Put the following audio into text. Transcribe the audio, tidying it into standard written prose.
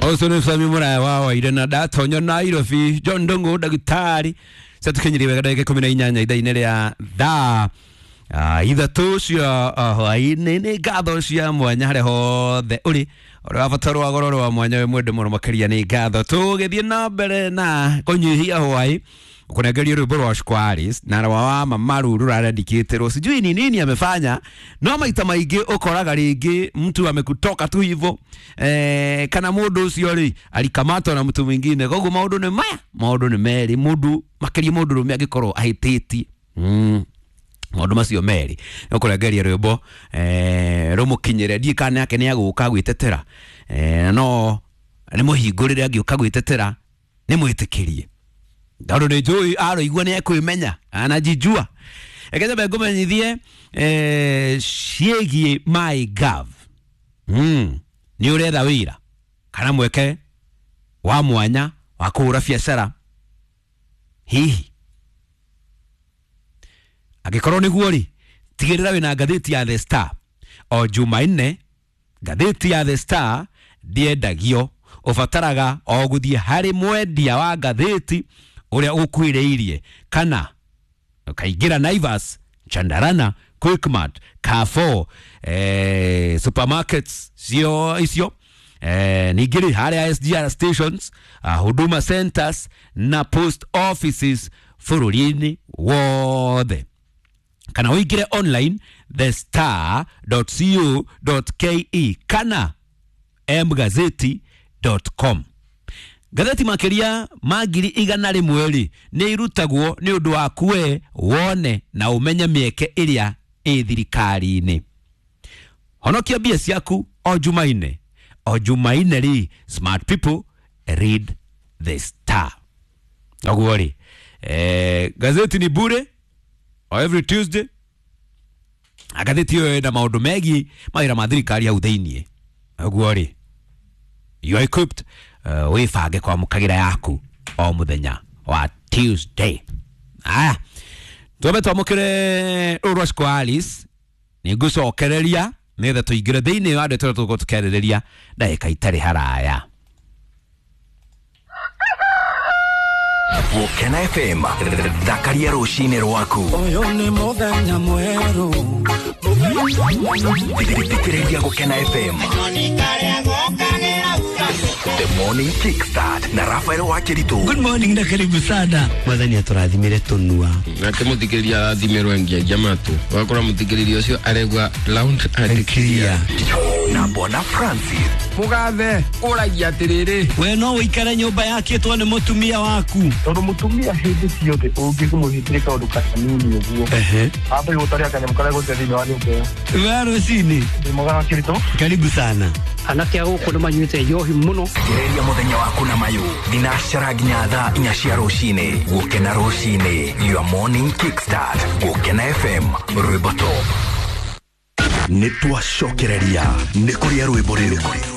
Ũcio nĩ Sami Mũraya wa Waire na ndatonyo Nairobi John Ndung'u ndagĩtarĩ catukinyĩrie wega ndagĩka 18 ithaa-inĩ rĩa thaa ithatũ cia hwaĩ-inĩ. Nĩ ngatho cia mwanya harĩa hothe ũrĩ ũrĩa wa bata rwa goro rwa mwanya wĩ mwende mũno makĩria. Nĩ ngatho tũgĩthiĩ na mbere na kũnyihia hwaĩ kũnengeria rwĩmbo rwa Squares na rwa wa Mamaru rũrarendikĩtĩrwo sijui ni nini amefanya, no maita maingĩ ũkoraga rĩngĩ mtu amekutoka tu hivyo kana mũndũ ũcio rĩ alikamatwa na mtu mwingine. Koguo maũndũ nĩ maya, maũndũ nĩ merĩ, mũndũ makĩria mũndũ rũme angĩkorwo ahĩtĩtie maũndũ macio merĩ nĩũkũrengeria rwĩmbo rũmũkinyĩre. Ndiĩ kana yake nĩ agũka gwĩtetera, no nĩ mũhingũrĩre angĩũka gwĩtetera nĩ mwĩtĩkĩrie tondũ nĩ njũĩ aroigua nĩ ekwĩmenya anajijua. Reke nyambe ngũmenyithie ciĩgiĩ MyGov. Nĩ ũretha wĩra kana mweke wa mwanya wa kũhũra biacara, hihi angĩkorwo nĩguo rĩ, tigĩrĩra wĩna ngathĩti ya The Star o Jumanne. Ngathĩti ya The Star ndĩendagio, ũbataraga o gũthiĩ harĩ mwendia wa ngathĩti ũrĩa ũkuhĩrĩirie kana ũkaingĩra Naivas, Chandarana, Quickmart, Carrefour, supermarkets cio icio, ningĩ rĩ harĩa SGR stations, Huduma centers na post offices bũrũri-inĩ wothe, kana ũingĩre online thestar.co.ke kana mgazeti.com. Ngathĩti makĩria ma 100,000 rĩ nĩ irutagwo nĩ ũndũ waku we wone na ũmenye mĩeke ĩrĩa ĩ thirikari-inĩ. Honokia mbia ciaku o Jumaine, o Jumaine rĩ, smart people read The Star. Ũguo rĩ, gazeti ni bure o every Tuesday. Ngathĩti ĩyo ĩna maũndũ megiĩ mawĩra ma thirikari hau thĩiniĩ. Ũguo rĩ, you are equipped, wĩbange kwamũkagĩra yaku o mũthenya wa Tuesday. Aya, twambe twamũkĩre rũrũ rwa Squares, nĩ ngũcokereria nĩgetha tũingĩre thĩiniĩ wa ndeto ĩrĩa tũgũkorwo tũkĩarĩrĩria ndagĩka itarĩ haraya. Gũkena FM, thakaria rũcinĩ rwaku. Ũyũ nĩ mũthenya mwerũ. Thikĩrĩria Gũkena FM. The Morning Kickstart na Rafael Wakiritu. Good morning na karibu sana. Mwathani atũrathimire tũnua. Nake mũthikĩrĩria arathimĩrwo engiagia matũ, ũgakora mũthikĩrĩria ũcio aregua loud and clear. Na Bwana Francis. Mũgathe ũragia atĩrĩrĩ, We no ũikare nyũmba yakĩtwo nĩ mũtumia waku. Tondũ mũtumia hĩndĩ ciothe ũngĩmũhĩtĩria kaũndũ kanini ũguo ambe gũtaria kanyamũ karĩa gũte thĩinĩ wa nyũmba ĩyo. We rũcinĩ. Ndĩ mwega wa Kĩritũ. Karibu sana. Anake a gũkũ nĩ manyuĩte njohi mũno. Thikĩrĩria mũthenya waku na mayũ thinacara nginya thaa 4 cia rũcinĩ. Gũkena rũcinĩ, your morning kickstart. Gũkena FM, rwĩmbo top. Nĩ twacokereria nĩ kũrĩa rwĩmbo rĩu.